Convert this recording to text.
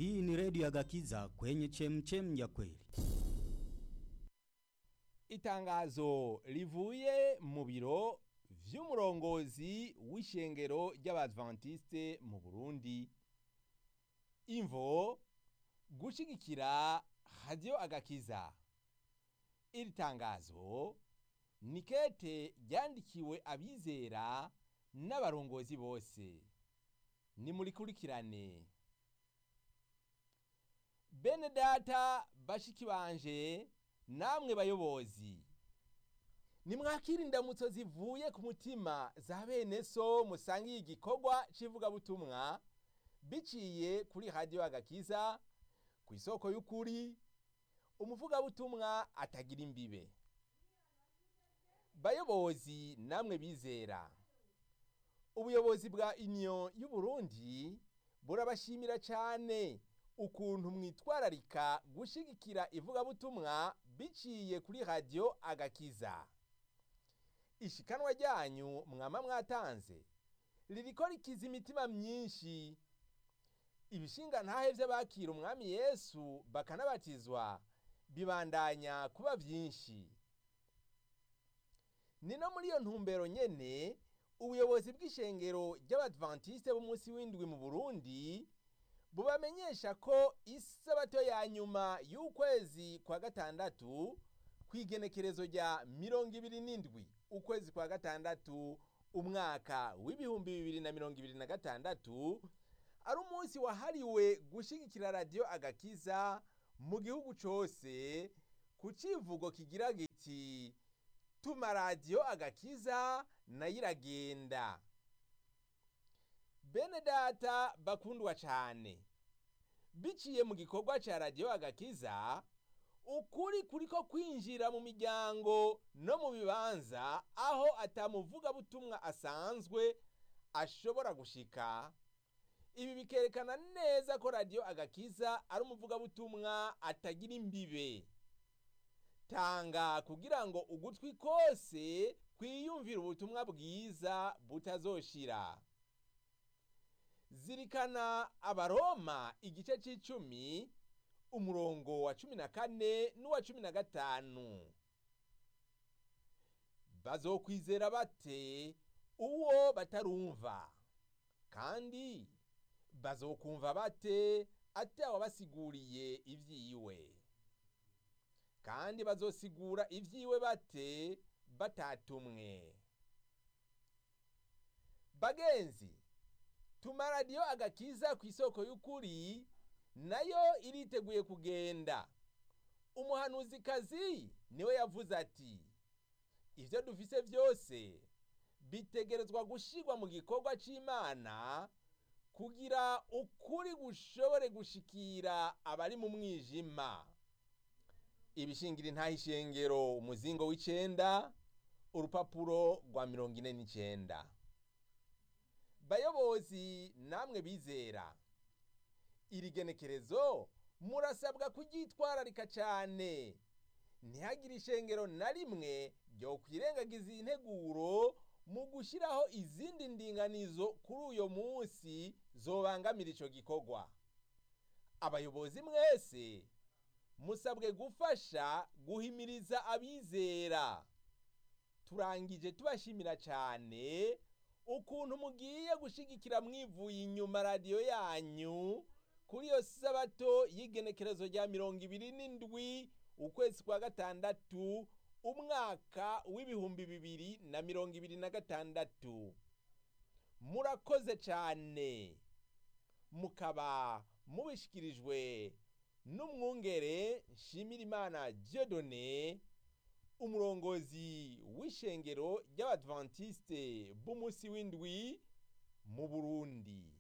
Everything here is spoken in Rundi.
Hii ni redio ya Gakiza kwenye chemchem ya kweli. Itangazo rivuye mu biro vy'umurongozi w'ishengero ry'Abadventiste mu Burundi. Imvo: gushigikira Radio Agakiza. Iri tangazo ni kete ryandikiwe abizera n'abarongozi bose. Nimurikurikirane. Bene data, bashiki banje, namwe bayobozi, nimwakira indamutso zivuye ku mutima za bene so musangiye igikorwa c'ivugabutumwa biciye kuri Radio Agakiza ku isoko y'ukuri, umuvugabutumwa atagira imbibe. Bayobozi namwe bizera, ubuyobozi bwa Union y'Uburundi burabashimira cane ukuntu mwitwararika gushigikira ivugabutumwa biciye kuri Radio Agakiza. Ishikanwa ryanyu mwama mwatanze ririko rikiza imitima myinshi. Ibishingantahe vy'abakira umwami Yesu bakanabatizwa bibandanya kuba vyinshi. Ni no muri iyo ntumbero nyene ubuyobozi bw'ishengero ry'Abadventiste b'umunsi w'indwi mu Burundi bubamenyesha ko isabato ya nyuma y'ukwezi kwa gatandatu, kw'igenekerezo rya 27 ukwezi kwa gatandatu umwaka w'2026, ari umunsi wahariwe gushigikira Radio Agakiza mu gihugu cose, ku civugo kigira giti: "Tuma Radio Agakiza nayo iragenda." Bene data bakundwa cane, biciye mu gikorwa ca Radio Agakiza, ukuri kuriko kwinjira mu miryango no mu bibanza aho atamuvugabutumwa asanzwe ashobora gushika. Ibi bikerekana neza ko Radio Agakiza ari umuvugabutumwa atagira imbibe. Tanga kugira ngo ugutwi kose kwiyumvira ubutumwa bwiza butazoshira. Zirikana Abaroma igice c'icumi, umurongo wa 14 n'uwa 15: "Bazokwizera bate uwo batarumva? Kandi bazokumva bate atawabasiguriye ivyiwe? Kandi bazosigura ivyiwe bate batatumwe?" Bagenzi, tuma Radio Agakiza ku isoko y'ukuri nayo iriteguye kugenda. Umuhanuzikazi niwe yavuze ati: "Ivyo dufise vyose bitegerezwa gushirwa mu gikorwa c'Imana kugira ukuri gushobore gushikira abari mu mwijima." Ibishingira intahe ishengero, umuzingo w'icenda, urupapuro rwa 49. Bayobozi namwe bizera, iri genekerezo murasabwa kuryitwararika cane. Ntihagire ishengero na rimwe ryokwirengagiza iyi nteguro mu gushiraho izindi ndinganizo kuri uyo munsi zobangamira ico gikorwa. Abayobozi mwese musabwe gufasha guhimiriza abizera. Turangije tubashimira cane ukuntu mugiye gushigikira mwivuye inyuma radiyo yanyu kuri iyo sabato y'igenekerezo rya 27 ukwezi kwa gatandatu umwaka w'2026. Murakoze cane. Mukaba mubishikirijwe n'umwungere Nshimirimana Dieudonné, umurongozi w'ishengero ry'Abadventiste b'umunsi w'indwi mu Burundi.